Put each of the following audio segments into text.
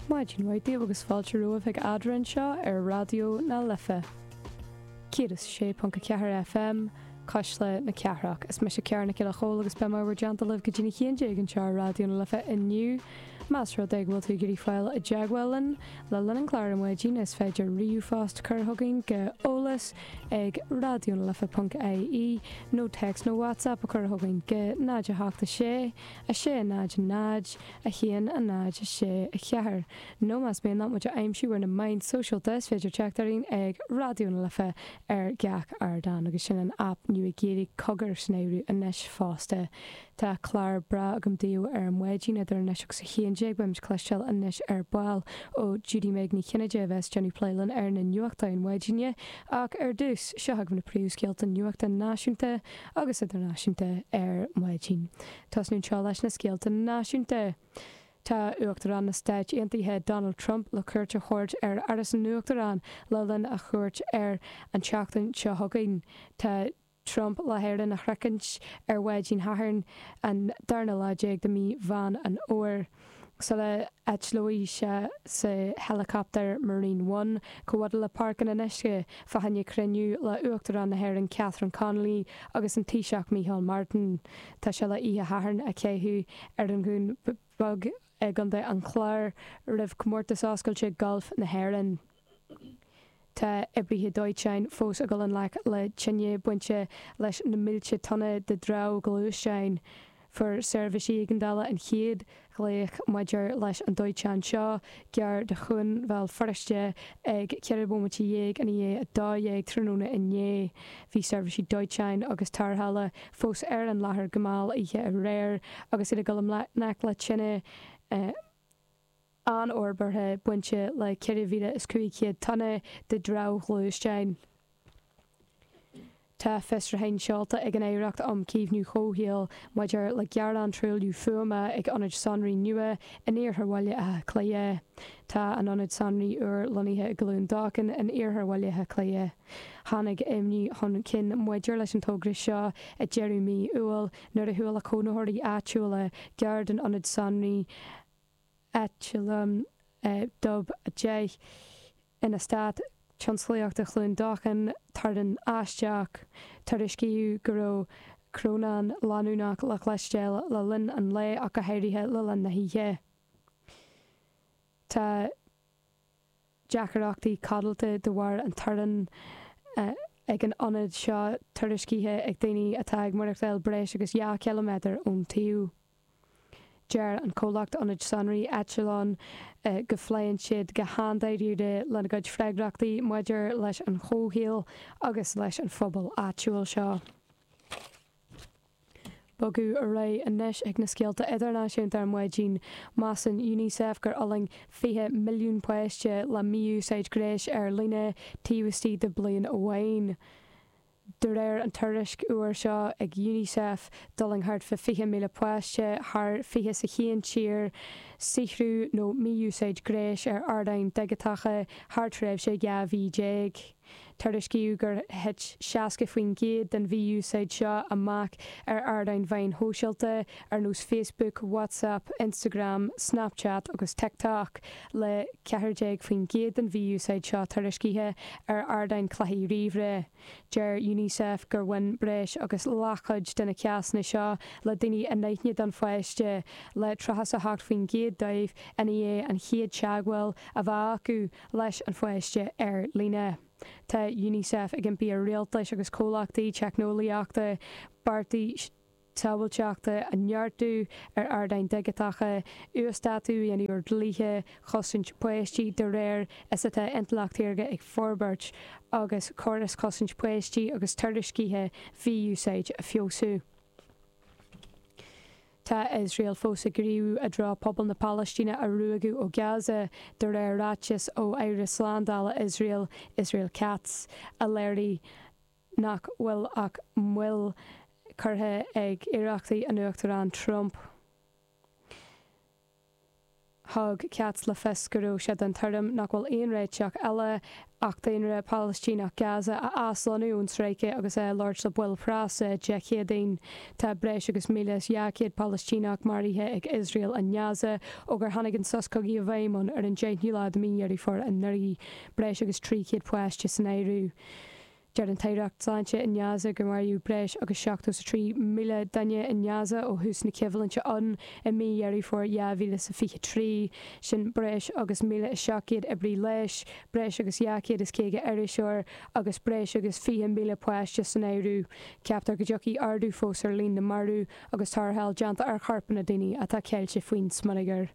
Maidin mhaith daoibh agus fáilte romhaibh chuig Eadrainn anseo ar Raidió na Life 106.4 FM, Cuisle na Cathrach. Is mise Ciara Nic Giolla Chóill agus beidh mé i bhur dteannta libh go dtí a 11 anseo ar Raidió na Life inniu. Más rud é go bhfuil tú ag iarraidh fáil i dteagmháil linn le linn an chláir ar maidin is féidir ríomhphost a chur chugainn go eolas ag raidionalife.ie nó téacs nó WhatsApp a chur chugainn go 0 8 6 6 0 0 1 0 6 4 nó más mian leat muid a aimsiú ar na meáin sóisialta is féidir teacht orainn ag Raidió na Life ar gach ardán agus sin an aip nua Gaeilge Cogar san áireamh anois fosta. Tá clár breá agam daoibh ar maidin idir anois agus 11. Beimid ag cloisteáil anois ar ball ó Judy Meg Ní Chinnéide a bheas ag déanamh plé linn ar na nuachtáin mhaidine. Ach ar dtús, seo chugaibh na príomhscéalta nuachta náisiúnta agus idirnáisiúnta ar maidin. Tosnú anseo leis na scéalta náisiúnta. Tá Uachtarán na Stáit Aontaithe Donald Trump le cuairt a thabhairt ar Áras an Uachtaráin le linn a chuairt air an tseachtain seo chugainn. Tá Trump le hÉirinn a shroichint ar mhaidin Shathairn, an darna lá déag de mhí Mheán an Fhómhair, sula eitleoidh sé sa héileacaptar Marine One chomh fada le Páirc an Fhionnuisce fá choinne cruinniú le Uachtarán na hÉireann Catherine Connolly agus an Taoiseach Micheál Martin. Tá sé le oíche Shathairn a chaitheamh ar an Dhún Beag i gContae an Chláir roimh Chomórtas Oscailte Gailf na hÉireann. Tá oibrithe dóiteáin fós ag dul i ngleic le tine bainte leis na mílte tonna de dhramhghluaisteáin. Fuair seirbhísí éigeandála an chéad ghlaoch maidir leis an dóiteán seo, gar do Chuan Bhéal Feirste, ag 14 bomaite i ndiaidh 12 tráthnóna inné. Bhí seirbhísí dóiteáin agus tarrthála fós ar an láthair go mall oíche aréir agus iad ag dul i ngleic le tine. an-fhorbartha bainte le 4,500 tonna de dhramhghluaisteáin. Tá fiosrúchán seolta ag an Aireacht um Chaomhnú Comhshaoil maidir le gearán truailliú fuaime ag ionad sonraí nua in iarthar Bhaile Átha Cliath. Tá an ionad sonraí úr lonnaithe i gCluain Dolcáin in iarthar Bhaile Átha Cliath. Tháinig imní chun cinn maidir leis an togra seo ag deireadh mí Iúil nuair a chuala cónaitheoirí áitiúla gar don ionad sonraí Echelon Dub 10 in Eastát Tionsclaíochta Chluain Dolcáin, torann aisteach. Tuairiscíodh go raibh crónán leanúnach le cloisteáil le linn an lae ach go háirithe le linn na hoíche. Tá deacrachtaí codlata de bharr an torainn ag an ionad seo tuairiscithe ag daoine atá ag maireachtáil breis agus 2 chiliméadar ón tsuíomh. Deir an comhlacht ionaid sonraí Echelon go phléann siad go han-dáiríre lena gcuid freagrachtaí maidir leis an chomhshaol agus leis an phobal áitiúil seo. Bogadh ar aghaidh anois ag na scéalta idirnáisiúnta ar maidin. Measann Unicef gur fhulaing 20 milliún páiste le mí-úsáid gnéis ar líne taobh istigh de bliain amháin. De réir an tuairisc úr seo ag Unicef, d'fhulaing thart fá 20,000 páiste thar 21 tír saothrú nó mí-úsáid gnéis ar ardáin dhigiteacha thar tréimhse 12 mhí. Tuairiscíodh gur thit 60% den mhí-úsáid seo amach ar ardáin mheáin shóisialta ar nós Facebook, WhatsApp, Instagram, Snapchat agus TikTok, le 14% den mhí-úsáid seo tuairiscithe ar ardáin cluichí ríomhaire. Deir Unicef gur bhain breis agus leathchuid de na cásanna seo le daoine anaithnide don pháiste, le 38% dóibh i ndiaidh an chéad teagmháil a bheith acu leis an pháiste ar líne. Tá Unicef ag impí ar rialtais agus comhlachtaí teicneolaíochta bearta sábháilteachta a neartú ar ardáin dhigiteacha, uasdátú a dhéanamh ar dhlíthe chosaint páistí de réir is atá intleacht shaorga ag forbairt, agus córais chosaint páistí agus tuairiscithe mhí-úsáid a feabhsú. Tá Iosrael fós ag gníomhú i dtreo pobal na Palaistíne a ruaigeadh ó Gaza, de réir ráiteas ó Aire Slándála Iosrael, Israel Katz, a léirigh nach bhfuil ach moill curtha ag iarrachtaí an Uachtaráin Trump. Thug Katz le fios go raibh sé den tuairim nach bhfuil aon réiteach eile ach daonra Palaistíneach Gaza a aslonnú ón stráice agus é ag labhairt le baill preasa Dé Céadaoin. Tá breis agus 1,200 Palaistíneach maraithe ag Iosrael i nGaza ó gur tháinig an sos cogaidh i bhfeidhm ann ar an 10ú lá de mhí Dheireadh Fómhair anuraidh, breis agus 300 páiste san áireamh. Deir an tAireacht Sláinte i nGaza gur maraíodh breis agus 73,000 duine i nGaza ó thús na coimhlinte ann i mí Dheireadh Fómhair 2023. Sin breis agus 1,700 oibrí leighis, breis agus 250 iriseoir agus breis agus 20,000 páiste san áireamh. Ceaptar go dtiocfaidh ardú fós ar líon na marbh agus tarrtháil déanta ar chorpanna daoine atá ceilte faoin smionagar.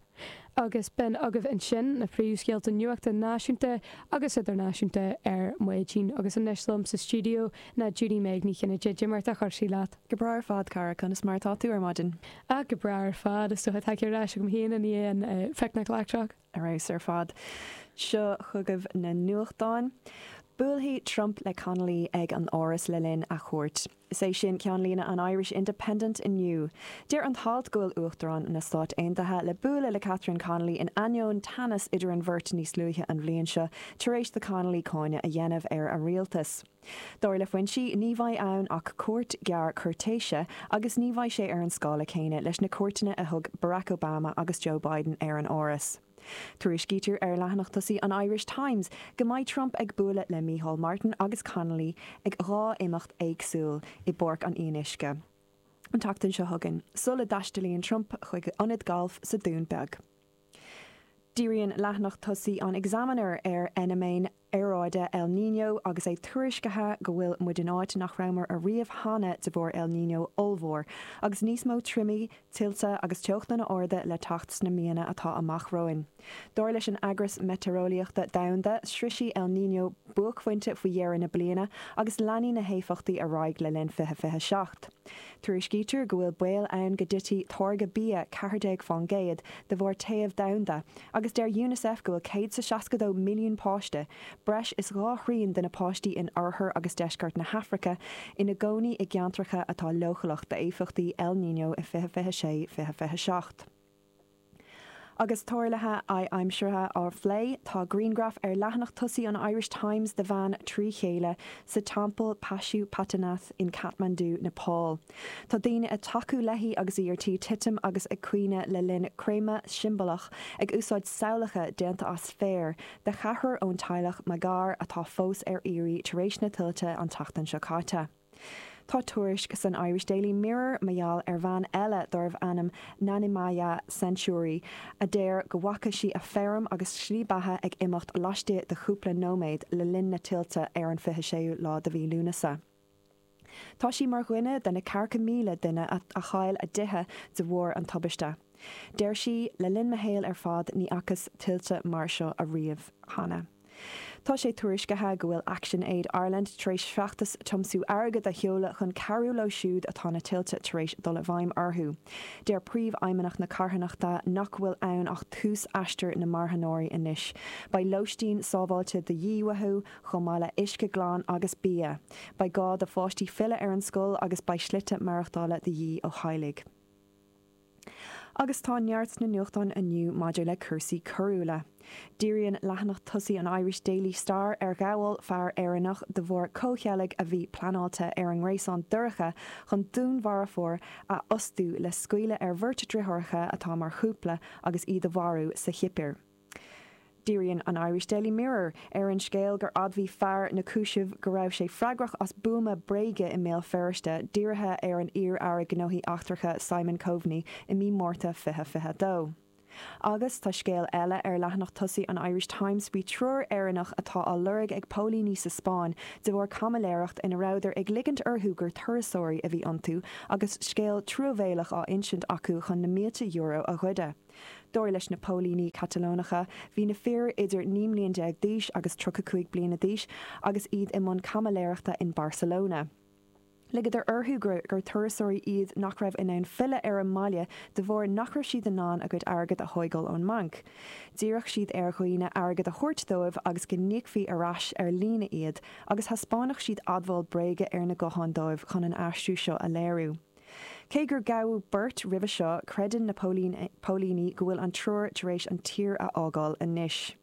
Agus b'in agaibh ansin na príomhscéalta nuachta náisiúnta agus idirnáisiúnta ar maidin. Agus anois liom sa stiúideo ná Judy Meg Ní Chinnéide. Cad é mar atá cúrsaí leat? Go breá ar fad, cara. Conas mar atá tú ar maidin? Ah, go breá ar fad. Is dócha tagtha ar ais agam féin i ndiaidh an phicnic leictreach. Ar fheabhas ar fad. Seo chugaibh na nuachtáin. Buailfidh Trump le Connolly ag an Áras le linn a chuairt. Is é sin ceannlíne an Irish Independent inniu. Deir an t-alt go bhfuil Uachtarán na Stát Aontaithe le bualadh le Catherine Connolly in ainneoin teannas idir an bheirt níos luaithe an bhliain seo tar éis do Connolly cáineadh a dhéanamh ar a rialtas. Dar le foinsí, ní bheidh ann ach cuairt ghearr cúirtéise agus ní bheidh sé ar an scála céanna leis na cuairteanna a thug Barack Obama agus Joe Biden ar an Áras. Tuairiscítear ar leathanach tosaigh an Irish Times go mbeidh Trump ag bualadh le Micheál Martin agus Connolly ag 2 imeacht éagsúil i bPáirc an Fhionnuisce an tseachtain seo chugainn, sula dtaistealaíonn Trump chuig ionad gailf sa Dún Beag. Díríonn leathanach tosaigh an Examiner ar fheiniméan aeráide El Niño agus é tuairiscithe go bhfuil muid in áit nach rabhamar ariamh cheana de bharr El Niño ollmhór, agus níos mó triomaigh, tuilte agus teochtanna arda le teacht sna míonna atá amach romhainn. Dar leis an Eagras Meitéareolaíochta Domhanda, sroisfidh El Niño buaicphointe faoi dheireadh na bliana agus leanfaidh na héifeachtaí ar aghaidh le linn 2027. Tuairiscítear go bhfuil baol ann go dtitfidh táirgeadh bia 14% de bharr téamh domhanda, Agus deir Unicef go bhfuil 162 milliún páiste, breis is 2 thrian de na páistí in oirthear agus deisceart na hAfraice, ina gcónaí i gceantracha atá leochaileach d'éifeachtaí El Niño i 2026, 2027. Agus tarluithe adhaimsire á phlé, tá grianghraf ar leathanach tosaigh an Irish Times de bhean trí chéile sa teampall Pashupatinath in Kathmandu, Nepal. Tá daoine ag tacú léi agus í ar tí titim agus ag caoineadh le linn creimeadh siombalach ag úsáid samhlacha déanta as féar de cheathrar ón teaghlach Magar atá fós ar iarraidh tar éis na tuilte an tseachtain seo caite. Tá tuairisc san Irish Daily Mirror mar gheall ar bhean eile darbh ainm Nanimaya Century a deir go bhfaca sí a feirm agus slí beatha ag imeacht laistigh de chúpla nóiméad le linn na tuilte ar an 26ú lá de mhí Lúnasa. Tá sí mar dhuine de na ceathracha 1,000 duine a chaill a dtithe de bharr an tubaiste. Deir sí, Le linn mo shaoil ar fad ní fhacas tuilte mar seo ariamh cheana. Tá sé tuairiscithe go bhfuil Action Aid Ireland tar éis feachtas tiomsú airgid a sheoladh chun cabhrú leo siúd atá na tuilte tar éis dul i bhfeidhm orthu. Deir príomhfheidhmeannach na carthanachta nach bhfuil ann ach tús aistear na marthanóirí anois. Beidh lóistín sábháilte de dhíth uathu, chomh maith le uisce glan agus bia. Beidh gá do pháistí filleadh ar an scoil agus beidh slite maireachtála de dhíth ó theaghlaigh. Agus tá neart sna nuachtáin inniu maidir le cúrsaí coiriúla. Díríonn leathanach tosaigh an Irish Daily Star ar ghabháil fear Éireannach de bharr comhcheilg a bhí pleanáilte ar an ngréasán dorcha chun dúnmharfóir a fhostú le scaoileadh ar bheirt driotháireacha atá mar chúpla agus iad a mharú sa Chipir. Díríonn an Irish Daily Mirror ar an scéal gur admhaigh fear na cúisimh go raibh sé freagrach as buama bréige i mBéal Feirste dírithe ar an iar-aire gnóthaí eachtracha Simon Coveney i mí Márta 2022. Agus tá scéal eile ar leathanach tosaigh an Irish Times faoi triúr Éireannach atá á lorg ag póilíní sa Spáinn de bharr caimiléireacht ina rabhadar ag ligint orthu gur turasóirí a bhí iontu agus scéal truamhéalach á insint acu chun na mílte euro a ghoideadh. Dar leis na póilíní Catalónacha, bhí na fir idir 19 mbliain d'aois agus 35 bliana d'aois agus iad i mbun caimiléireachta in Barcelona. Ligeadar orthu gur turasóirí iad nach raibh in ann filleadh ar an mbaile de bharr nach raibh siad in ann a gcuid airgid a thóigeáil ón mbanc. D'iarrfadh siad ar dhaoine airgead a thabhairt dóibh agus go n-íocfaí ar ais ar líne iad agus thaispeánfadh siad admháil bréige ar na gutháin dóibh chun an aistriú seo a léiriú. Cé gur gabhadh beirt roimhe seo, creideann na póilíní go bhfuil an triúr tar éis an tír a fhágáil anois.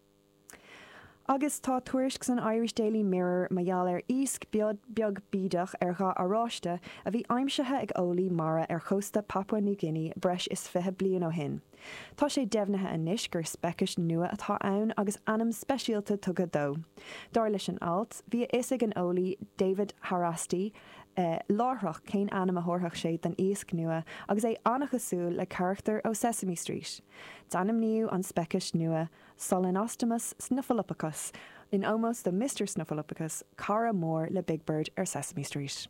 Agus tá tuairisc san Irish Daily Mirror mar gheall ar iasc beag bídeach ar dhath oráiste a bhí aimsithe ag eolaí mara ar chósta Papua New Guinea breis is 20 bliain ó shin. Tá sé deimhnithe anois gur speiceas nua atá ann agus ainm speisialta tugtha dó. Dar leis an alt, bhí a fhios ag an eolaí David Haraszthy láithreach cén ainm a thabharfadh sé don iasc nua agus é an-chosúil le carachtar ó Sesame Street. D'ainmníodh an speiceas nua Solenostomus snuffleupagus in ómós do Mister Snuffleupagus, cara mór le Big Bird ar Sesame Street.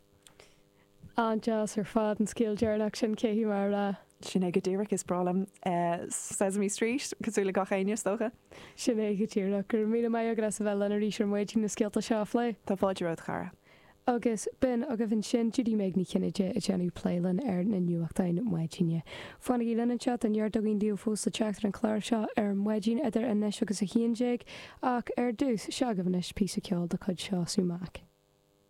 An-deas ar fad an scéal deireanach sin, caithfidh mé a rá. Sin é go díreach, is breá liom Sesame Street, cosúil le gach éinne is dócha. Sin é go díreach. Go raibh míle maith agat as a bheith linn arís ar maidin na scéalta seo a phlé. Tá fáilte romhat, a chara. Agus b'in agaibh ansin Judy Meg Ní Chinnéide ag déanamh plé linn ar na nuachtáin maidine. Fanaigí linn anseo, tá neart againn daoibh fós le teacht ar an chlár seo ar maidin idir anois agus 11 ach ar dtús, seo agaibh anois píosa ceoil de chuid Seosamh Mac.